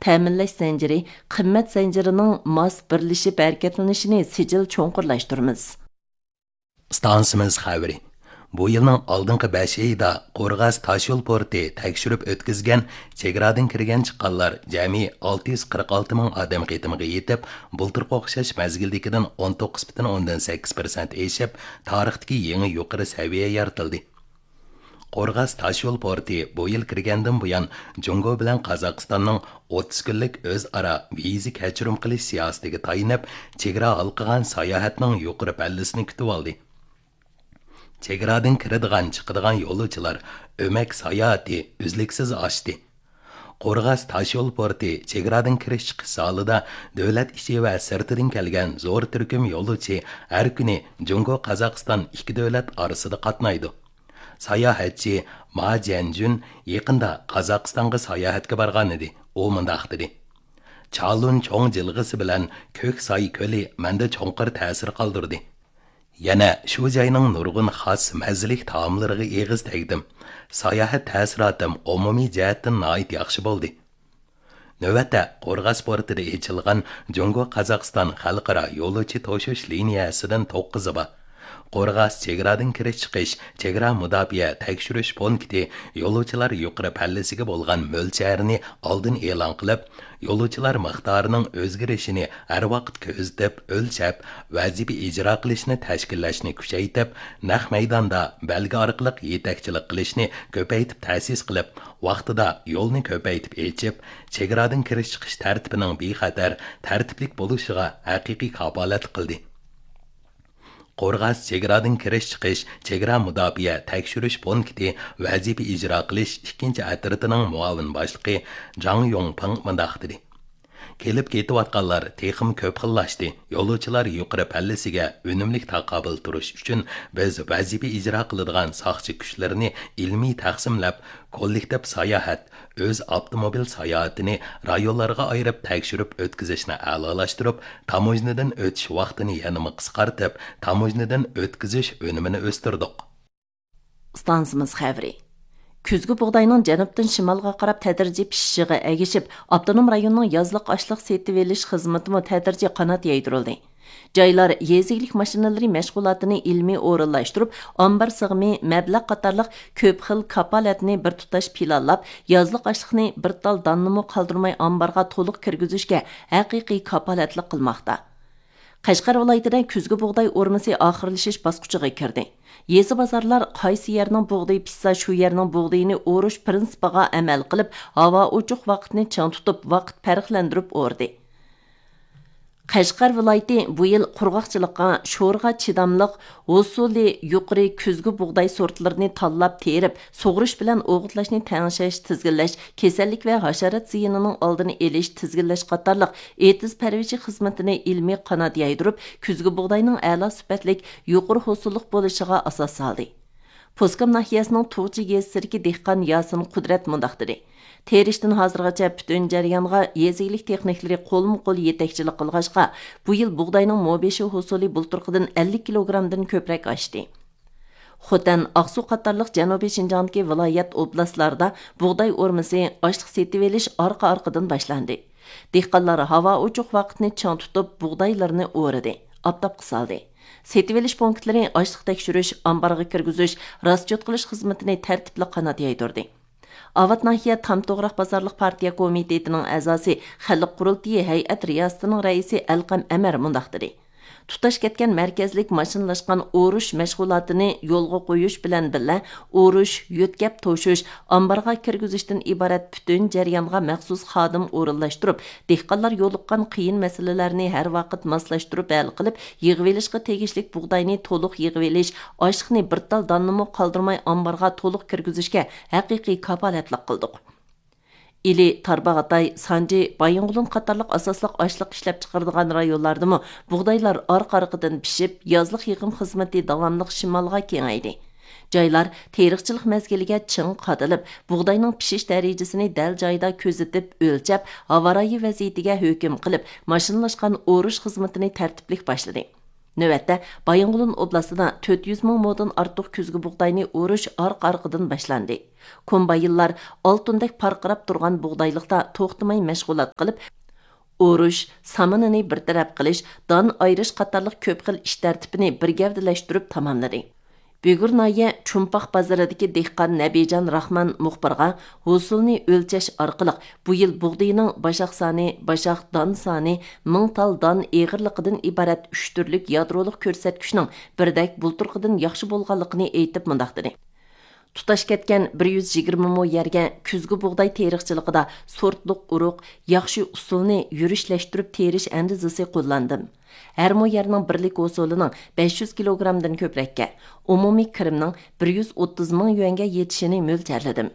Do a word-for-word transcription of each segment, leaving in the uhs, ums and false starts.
تەمىنلەش زەنجىرى، قىممەت زەنجىرىنىڭ ماس بىرلىشىپ ھەرىكەتلىنىشىنى سىجىل چوڭقۇرلاشتۇرىمىز. ئىستانسىمىز خەۋىرى. بۇ يىلنىڭ ئالدىنقى بەش ئېيىدا قورغاس تاشيول پورتى تەكشۈرۈپ ئۆتكۈزگەن چېگرادىن كىرگەن چىققانلار جەمئىي ئالتە يۈز قىرىق ئالتە مىڭ ئادەم قېتىمىغا يېتىپ، بۇلتۇرقى ئوخشاش مەزگىلدىكىدىن ئون توققۇز پۈتۈن ئوندىن سەككىز پىرسەنت ئېشىپ، تارىختىكى يېڭى يۇقىرى سەۋىيە يارىتىلدى. قورغاس تاشيول پورتى بۇ يىل كىرگەندىن بۇيان، جۇڭگو بىلەن قازاقىستاننىڭ ئوتتۇز كۈنلۈك ئۆزئارا ۋىزا كەچۈرۈم قىلىش سىياسىتىگە تايىنىپ، چېگرا ھالقىغان ساياھەتنىڭ يۇقىرى پەللىسىنى كۈتۈۋالدى. چېگرادىن كىرىدىغان، چىقىدىغان يولۇچىلار ئۆمەك ساياھىتى ئۈزلۈكسىز ئاشتى. قورغاس تاشيول پورتى چېگرادىن كىرىش چىقىش زالىدا دۆلەت ئىچى ۋە سىرتىدىن كەلگەن زور تۈركۈم يولۇچى ھەر كۈنى جۇڭگو، قازاقىستان ئىككى دۆلەت ئارىسىدا قاتنايدۇ. ساياھەتچى ما جيەنجۈن يېقىندا قازاقىستانغا ساياھەتكە بارغانىدى. ئۇ مۇنداق دېدى: «چالۇن چوڭ جىلغىسى بىلەن كۆك ساي كۆلى مەندە چوڭقۇر تەسىر قالدۇردى. يەنە شۇ جاينىڭ نۇرغۇن خاس مەززىلىك تائاملىرىغا ئېغىز تەگدىم. ساياھەت تەسىراتىم ئومۇمىي جەھەتتىن ناھايىتى ياخشى بولدى.» نۆۋەتتە، قورغاس پورتىدا ئېچىلغان جۇڭگو، قازاقىستان خەلقئارا يولۇچى توشۇش لىنىيەسىدىن توققۇزى بار. قورغاس چېگرادىن كىرىش چىقىش چېگرا مۇداپىئە تەكشۈرۈش پونكىتى يولۇچىلار يۇقىرى پەللىسىگە بولغان مۆلچەرنى ئالدىن ئېلان قىلىپ، يولۇچىلار مىقدارىنىڭ ئۆزگىرىشىنى ھەر ۋاقىت كۆزىتىپ، ئۆلچەپ، ۋەزىپە ئىجرا قىلىشنى تەشكىللەشنى كۈچەيتىپ، نەق مەيداندا بەلگە ئارقىلىق يېتەكچىلىك قىلىشنى كۆپەيتىپ تەسىس قىلىپ، ۋاقتىدا يولنى كۆپەيتىپ ئېچىپ، چېگرادىن كىرىش چىقىش تەرتىپىنىڭ بىخەتەر، تەرتىپلىك بولۇشىغا ھەقىقىي كاپالەتلىك قىلدى. قورغاس چېگرادىن كىرىش چىقىش چېگرا مۇداپىئە تەكشۈرۈش پونكىتى ۋەزىپە ئىجرا قىلىش ئىككىنچى ئەترىتىنىڭ مۇئاۋىن باشلىقى جاڭ يۇڭپىڭ مۇنداق دېدى: «كېلىپ كېتىۋاتقانلار تېخىمۇ كۆپ خىللاشتى. يولۇچىلار يۇقىرى پەللىسىگە ئۈنۈملۈك تاقابىل تۇرۇش ئۈچۈن، بىز ۋەزىپە ئىجرا قىلىدىغان ساقچى كۈچلىرىنى ئىلمىي تەقسىملەپ، كوللېكتىپ ساياھەت، ئۆز ئاپتوموبىل ساياھىتىنى رايونلارغا ئايرىپ تەكشۈرۈپ ئۆتكۈزۈشنى ئەلالاشتۇرۇپ، تاموژنىدىن ئۆتۈش ۋاقتىنى يەنىمۇ قىسقارتىپ، تاموژنىدىن ئۆتكۈزۈش ئۈنۈمىنى ئۆستۈردۇق.» ئىستانسىمىز خەۋىرى. كۈزگى بۇغداينىڭ جەنۇبتىن شىمالغا قاراپ تەدرىجىي پىشىشىغا ئەگىشىپ، ئاپتونوم رايوننىڭ يازلىق ئاشلىق سېتىۋېلىش خىزمىتىمۇ تەدرىجىي قانات يايدۇرۇلدى. جايلار يېزا ئىگىلىك ماشىنىلىرى مەشغۇلاتىنى ئىلمىي ئورۇنلاشتۇرۇپ، ئامبار سىغىمى، مەبلەغ قاتارلىق كۆپ خىل كاپالەتنى بىر تۇتاش پىلانلاپ، يازلىق ئاشلىقنى بىر تال داننىمۇ قالدۇرماي ئامبارغا تولۇق كىرگۈزۈشكە ھەقىقىي كاپالەتلىك قىلماقتا. قەشقەر ۋىلايىتىدە كۈزگى بۇغداي ئورمىسى ئاخىرلىشىش باسقۇچىغا كىردى. يېزا بازارلار قايسى يەرنىڭ بۇغدىيى پىشسا، شۇ يەرنىڭ بۇغدىيىنى ئورۇش پىرىنسىپىغا ئەمەل قىلىپ، ھاۋا ئوچۇق ۋاقىتنى چىڭ تۇتۇپ، ۋاقىت پەرقلەندۈرۈپ ئورىدى. قەشقەر ۋىلايىتى بۇ يىل قۇرغاقچىلىققا، شورىغا چىداملىق، ھوسۇلى يۇقىرى كۈزگى بۇغداي سورتلىرىنى تاللاپ تېرىپ، سۇغۇرۇش بىلەن ئوغۇتلاشنى تەڭشەش، تىزگىنلەش، كېسەللىك ۋە ھاشارات زىيىنىنىڭ ئالدىنى ئېلىش، تىزگىنلەش قاتارلىق ئېتىز پەرۋىشى خىزمىتىنى ئىلمىي قانات يايدۇرۇپ، كۈزگى بۇغداينىڭ ئەلا سۈپەتلىك، يۇقىرى ھوسۇللۇق بولۇشىغا ئاساس سالدى. پوسكام ناھىيەسىنىڭ تۇغچى يېزا سىركى دېھقان ياسىن قۇدرەت مۇنداق دېدى: «تېرىشتىن ھازىرغىچە پۈتۈن جەريانغا يېزا ئىگىلىك تېخنىكلىرى قولمۇ قول يېتەكچىلىك قىلغاچقا، بۇ يىل بۇغداينىڭ مو بېشى ھوسۇلى بۇلتۇرقىدىن ئەللىك كىلوگرامدىن كۆپرەك ئاشتى.» خوتەن، ئاقسۇ قاتارلىق جەنۇبىي شىنجاڭدىكى ۋىلايەت، ئوبلاستلاردا بۇغداي ئورمىسى، ئاشلىق سېتىۋېلىش ئارقا-ئارقىدىن باشلاندى. دېھقانلار ھاۋا ئوچۇق ۋاقىتنى چىڭ تۇتۇپ، بۇغدايلىرىنى ئورىدى، ئاپتاپقا سالدى. سېتىۋېلىش پونكىتلىرى ئاشلىق تەكشۈرۈش، ئامبارغا كىرگۈزۈش، راسچوت قىلىش خىزمىتىنى تەرتىپلىك قانات يايدۇردى. ئاۋات ناھىيە تام توغراق بازارلىق پارتىيە كومىتېتىنىڭ ئەزاسى، خەلق قۇرۇلتىيى ھەيئەت رىياسىتىنىڭ رەئىسى ئەلقەم ئەمەر مۇنداق دېدى: «تۇتاش كەتكەن مەركەزلىك ماشىنىلاشقان ئورۇش مەشغۇلاتىنى يولغا قويۇش بىلەن بىللە، ئورۇش، يۆتكەپ توشۇش، ئامبارغا كىرگۈزۈشتىن ئىبارەت پۈتۈن جەريانغا مەخسۇس خادىم ئورۇنلاشتۇرۇپ، دېھقانلار يولۇققان قىيىن مەسىلىلەرنى ھەر ۋاقىت ماسلاشتۇرۇپ ھەل قىلىپ، يىغىۋېلىشقا تېگىشلىك بۇغداينى تولۇق يىغىۋېلىش، ئاشلىقنى بىر تال داننىمۇ قالدۇرماي ئامبارغا تولۇق كىرگۈزۈشكە ھەقىقىي كاپالەتلىك قىلدۇق.» ئىلى، تارباغاتاي، سانجى، بايىنغولىن قاتارلىق ئاساسلىق ئاشلىق ئىشلەپچىقىرىدىغان رايونلاردىمۇ بۇغدايلار ئارقا-ئارقىدىن پىشىپ، يازلىق يىغىم خىزمىتى داۋاملىق شىمالغا كېڭەيدى. جايلار تېرىقچىلىق مەزگىلىگە چىڭ قادىلىپ، بۇغداينىڭ پىشىش دەرىجىسىنى دەل جايىدا كۆزىتىپ، ئۆلچەپ، ھاۋا رايى ۋەزىيىتىگە ھۆكۈم قىلىپ، ماشىنىلاشقان ئورۇش خىزمىتىنى تەرتىپلىك باشلىدى. نۆۋەتتە، بايىنغولىن ئوبلاستىدا تۆت يۈز مىڭ مودىن ئارتۇق كۈزگۈ بۇغداينى ئورۇش ئارقا-ئارقىدىن باشلاندى. كومباينلار ئالتۇندەك پارقىراپ تۇرغان بۇغدايلىقتا توختىماي مەشغۇلات قىلىپ، ئورۇش، سامىنىنى بىر تەرەپ قىلىش، دان ئايرىش قاتارلىق كۆپ خىل ئىش تەرتىپىنى بىر گەۋدىلەشتۈرۈپ تاماملىدى. بۈگۈر ناھىيە چومپاق بازىرىدىكى دېھقان نەبىجان راخمان مۇخبىرغا ھوسۇلنى ئۆلچەش ئارقىلىق بۇ يىل بۇغدىيىنىڭ باشاق سانى، باشاق دان سانى، مىڭ تال دان ئېغىرلىقىدىن ئىبارەت ئۈچ تۈرلۈك يادرولۇق كۆرسەتكۈچنىڭ بىردەك بۇلتۇرقىدىن ياخشى بولغانلىقىنى ئېيتىپ مۇنداق دېدى: تۇتاش كەتكەن بىر يۈز يىگىرمە مو يەرگە كۈزگۈ بۇغداي تېرىقچىلىقىدا سورتلۇق ئۇرۇق، ياخشى ئۇسۇلنى يۈرۈشلەشتۈرۈپ تېرىش ئەندىزىسى قوللاندىم. ھەر مو يەرنىڭ بىرلىك ھوسۇلىنىڭ بەش يۈز كىلوگرامدىن كۆپرەككە، ئومۇمىي كىرىمنىڭ بىر يۈز ئوتتۇز مىڭ يۈەنگە يېتىشىنى مۆلچەرلىدىم.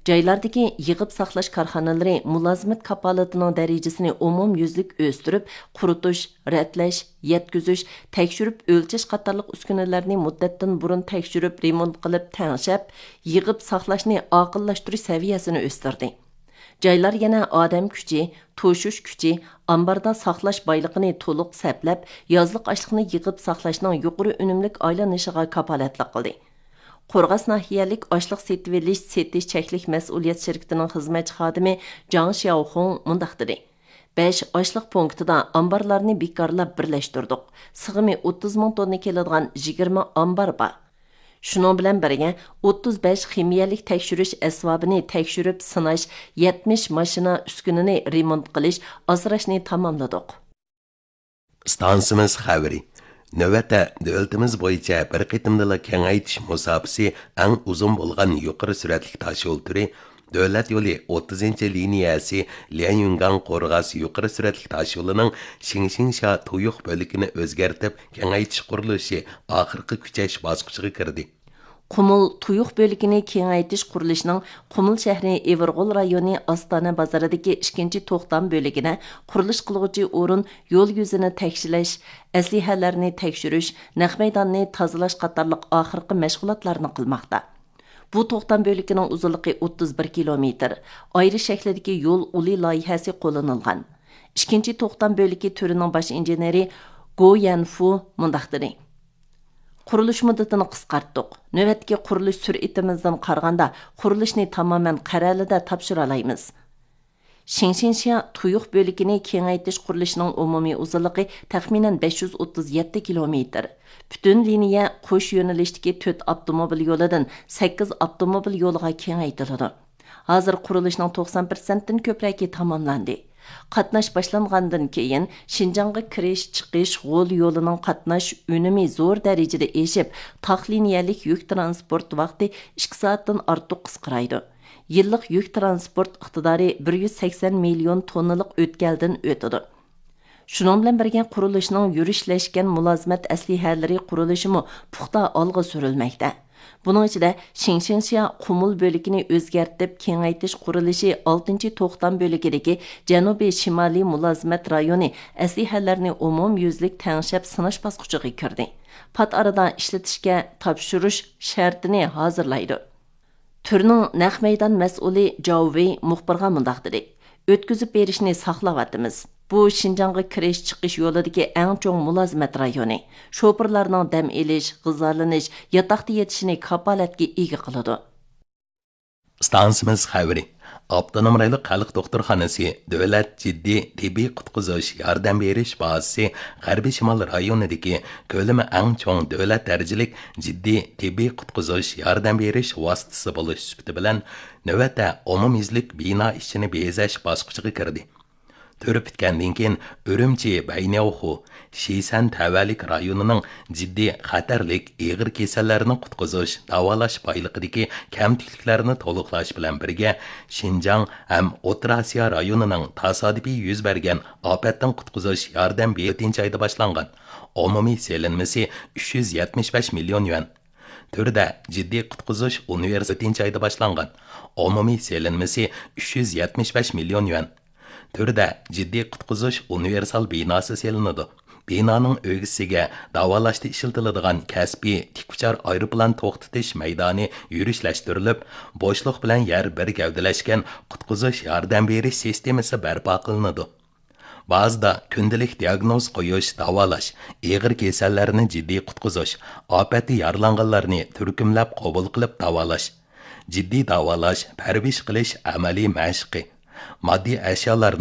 جايلاردىكى يىغىپ ساقلاش كارخانىلىرى مۇلازىمەت كاپالىتىنىڭ دەرىجىسىنى ئومۇميۈزلۈك ئۆستۈرۈپ، قۇرۇتۇش، رەتلەش، يەتكۈزۈش، تەكشۈرۈپ ئۆلچەش قاتارلىق ئۈسكۈنىلەرنى مۇددەتتىن بۇرۇن تەكشۈرۈپ، رېمونت قىلىپ تەڭشەپ، يىغىپ ساقلاشنى ئاقىللاشتۇرۇش سەۋىيەسىنى ئۆستۈردى. جايلار يەنە ئادەم كۈچى، توشۇش كۈچى، ئامباردا ساقلاش بايلىقىنى تولۇق سەپلەپ، يازلىق ئاشلىقنى يىغىپ ساقلاشنىڭ يۇقىرى ئۈنۈملۈك ئايلىنىشىغا كاپالەتلىك قىلدى. قورغاس ناھىيەلىك ئاشلىق سېتىۋېلىش، سېتىش چەكلىك مەسئۇلىيەت شىركىتىنىڭ خىزمەتچى خادىمى جاڭ شياۋخۇڭ مۇنداق دېدى: بەش ئاشلىق پونكىتىدا ئامبارلارنى بىكارلاپ بىرلەشتۈردۇق. سىغىمى ئوتتۇز مىڭ توننا كېلىدىغان يىگىرمە ئامبار بار. شۇنىڭ بىلەن بىرگە، ئوتتۇز بەش خىمىيەلىك تەكشۈرۈش ئەسۋابىنى تەكشۈرۈپ سىناش، يەتمىش ماشىنا ئۈسكۈنىنى رېمونت قىلىش، ئاسراشنى تاماملىدۇق. ئىستانسىمىز خەۋىرى. نۆۋەتتە دۆلىتىمىز بويىچە بىر قېتىمدىلا كېڭەيتىش مۇساپىسى ئەڭ ئۇزۇن بولغان يۇقىرى سۈرئەتلىك تاشيول تۈرى، دۆلەت يولى ئوتتۇزىنچى لىنىيەسى ليەنيۈنگاڭ قورغاس يۇقىرى سۈرئەتلىك تاشيولىنىڭ شىڭشىڭشيا تۇيۇق بۆلىكىنى ئۆزگەرتىپ كېڭەيتىش قۇرۇلۇشى ئاخىرقى كۈچەش باسقۇچىغا كىردى. قۇمۇل تۇيۇق بۆلىكىنى كېڭەيتىش قۇرۇلۇشىنىڭ قۇمۇل شەھىرى ئېۋىرغول رايونى ئاستانە بازىرىدىكى ئىككىنچى توختام بۆلىكىدە قۇرۇلۇش قىلغۇچى ئورۇن يول يۈزىنى تەكشىلەش، ئەسلىھەلەرنى تەكشۈرۈش، نەق مەيداننى تازىلاش قاتارلىق ئاخىرقى مەشغۇلاتلارنى قىلماقتا. بۇ توختام بۆلىكىنىڭ ئۇزۇنلۇقى ئوتتۇز بىر كىلومېتىر، ئايرى شەكلىدىكى يول ئۇلى لايىھەسى قوللىنىلغان. ئىككىنچى توختام بۆلىكى تۈرىنىڭ باش ئىنژېنېرى گو يەنفۇ مۇنداق دېدى: قۇرۇلۇش مۇددىتىنى قىسقارتتۇق. نۆۋەتتىكى قۇرۇلۇش سۈرئىتىمىزدىن قارىغاندا، قۇرۇلۇشنى تامامەن قەرەلىدە تاپشۇرالايمىز. شىڭشىنشيا تۇيۇق بۆلىكىنى كېڭەيتىش قۇرۇلۇشىنىڭ ئومۇمىي ئۇزۇنلۇقى تەخمىنەن بەش يۈز ئوتتۇز يەتتە كىلومېتىر. پۈتۈن لىنىيە قوش يۆنىلىشتىكى تۆت ئاپتوموبىل يولىدىن سەككىز ئاپتوموبىل يولىغا كېڭەيتىلىدۇ. ھازىر قۇرۇلۇشنىڭ توقسان پىرسەنتتىن كۆپرەكى تاماملاندى. قاتناش باشلانغاندىن كېيىن، شىنجاڭغا كىرىش، چىقىش غول يولىنىڭ قاتناش ئۈنۈمى زور دەرىجىدە ئېشىپ، تاق لىنىيەلىك يۈك تىرانسپورت ۋاقتى ئىككى سائەتتىن ئارتۇق قىسقىرايدۇ. يىللىق يۈك تىرانسپورت ئىقتىدارى بىر يۈز سەكسەن مىليون توننىلىق ئۆتكەلدىن ئۆتىدۇ. شۇنىڭ بىلەن بىرگە، قۇرۇلۇشنىڭ يۈرۈشلەشكەن مۇلازىمەت ئەسلىھەلىرى قۇرۇلۇشىمۇ پۇختا ئالغا سۈرۈلمەكتە. بۇنىڭ ئىچىدە، شىڭشىڭشيا قۇمۇل بۆلىكىنى ئۆزگەرتىپ كېڭەيتىش قۇرۇلۇشى ئالتىنچى توختام بۆلىكىدىكى جەنۇبىي شىمالىي مۇلازىمەت رايونى ئەسلىھەلەرنى ئومۇميۈزلۈك تەڭشەپ سىناش باسقۇچىغا كىردى. پات ئارىدا ئىشلىتىشكە تاپشۇرۇش شەرتىنى ھازىرلايدۇ. تۈرنىڭ نەق مەيدان مەسئۇلى جاۋ ۋېي مۇخبىرغا مۇنداق دېدى: ئۆتكۈزۈپ بېرىشنى ساقلاۋاتىمىز. بۇ شىنجاڭغا كىرىش، چىقىش يولىدىكى ئەڭ چوڭ مۇلازىمەت رايونى. شوپۇرلارنىڭ دەم ئېلىش، غىزالىنىش، ياتاقتا يېتىشىنى كاپالەتكە ئىگە قىلىدۇ. ئىستانسىمىز خەۋىرى. ئاپتونوم رايونلۇق خەلق دوختۇرخانىسى دۆلەت جىددىي تېببىي قۇتقۇزۇش ياردەم بېرىش بازىسى غەربىي شىمال رايونىدىكى كۆلىمى ئەڭ چوڭ دۆلەت دەرىجىلىك جىددىي تېببىي قۇتقۇزۇش ياردەم بېرىش ۋاسىتىسى بولۇش سۈپىتى بىلەن، نۆۋەتتە ئومۇميۈزلۈك بىنا ئىچىنى بېزەش باسقۇچىغا كىردى. تۈر پۈتكەندىن كېيىن، ئۈرۈمچى بەينياۋخۇ شىسەن تەۋەلىك رايونىنىڭ جىددىي خەتەرلىك ئېغىر كېسەللەرنى قۇتقۇزۇش، داۋالاش بايلىقىدىكى كەمتۈكلۈكلەرنى تولۇقلاش بىلەن بىرگە، شىنجاڭ ھەم ئوتتۇرا ئاسىيا رايونىنىڭ تاسادىپىي يۈز بەرگەن ئاپەتتىن قۇتقۇزۇش ياردەم بېرىش تۆتىنچى ئايدا باشلانغان ئومۇمىي سېلىنمىسى ئۈچ يۈز يەتمىش بەش مىليون يۈەن. تۈردە جىددىي قۇتقۇزۇش ئۇنىۋېرسال تۆتىنچى ئايدا باشلانغان ئومۇمىي سېلىنمىسى ئۈچ يۈز يەتمىش بەش مىليون يۈەن. تۈردە جىددىي قۇتقۇزۇش ئۇنىۋېرسال بىناسى سېلىنىدۇ. بىنانىڭ ئۆگزىسىگە داۋالاشتا ئىشلىتىلىدىغان كەسپىي تىك ئۇچار ئايروپىلان توختىتىش مەيدانى يۈرۈشلەشتۈرۈلۈپ، بوشلۇق بىلەن يەر بىر گەۋدىلەشكەن قۇتقۇزۇش ياردەم بېرىش سىستېمىسى بەرپا قىلىنىدۇ. بازىدا كۈندىلىك دىياگنوز قويۇش، داۋالاش، ئېغىر كېسەللەرنى جىددىي قۇتقۇزۇش، ئاپەتتە يارىلانغانلارنى تۈركۈملەپ قوبۇل قىلىپ داۋالاش، جىددىي داۋالاش، پەرۋىش قىلىش ئەمەلىي مەشىقى، ماددىي ئەشيالارنى